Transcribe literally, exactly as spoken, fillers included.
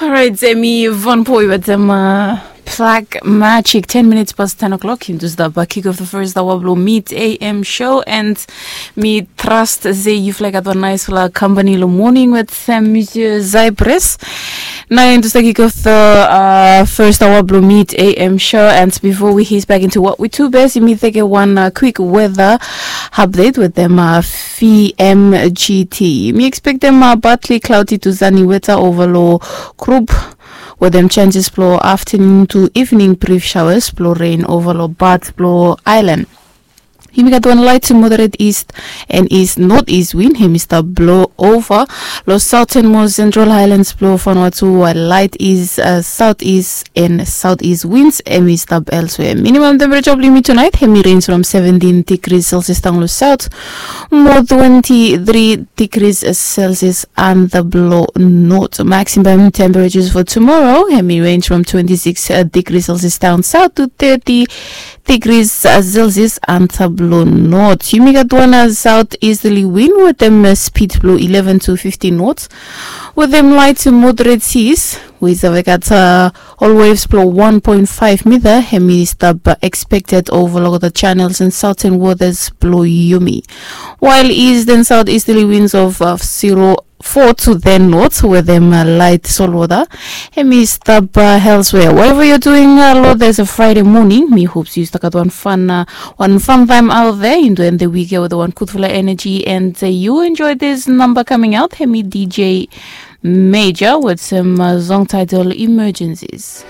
Alright, hemi Von Poi wetem uh, Black Magic. Ten minutes past ten o'clock. Yumi stap uh, kick off the first hour blong Mid A M show, and mi trust se yufala i gat wan naisfala company long morning with uh, Monsieur Zypress. Nao yumi stap kick off the uh, first hour blong Mid A M show, and before we head back into what we do best, yumi teke wan uh, quick weather update wetem uh, V M G T. Yumi expectem uh, partly cloudy to sunny weather over long group wetem chances blong afternoon to evening brief showers blong rain over long part blong island. Yumi gat wan light to moderate east and east northeast wind, hemi stap blow over long southernmost central highlands blong Vanuatu, while light is uh, southeast and southeast winds, hemi stap elsewhere. Minimum temperature blong yumi tonight, hemi range from seventeen degrees Celsius down long south, mo twenty-three degrees Celsius anda blong north. Maximum temperatures for tomorrow, hemi range from twenty-six uh, degrees Celsius down south to thirty degrees uh, Celsius anda blong north. Yumi gat wan uh, southeasterly wind wetem uh, speed blong eleven to fifteen knots, wetem light to moderate seas, we save gat uh, all waves blong one point five meter, hemi stap uh, expected over long the channels and southern waters blong yumi. While east and southeasterly winds of uh, zero four to ten knots wetem uh, light salt water, hemi stap uh, elsewhere. Whatever you're doing, uh, Lord, there's a Friday morning. Mi hope yu stap gat wan fun, uh, wan fun time out there. Yumi end the week with wan gudfala energy, and uh, you enjoy this number coming out. Hemi D J Major wetem uh, song title Emergencies.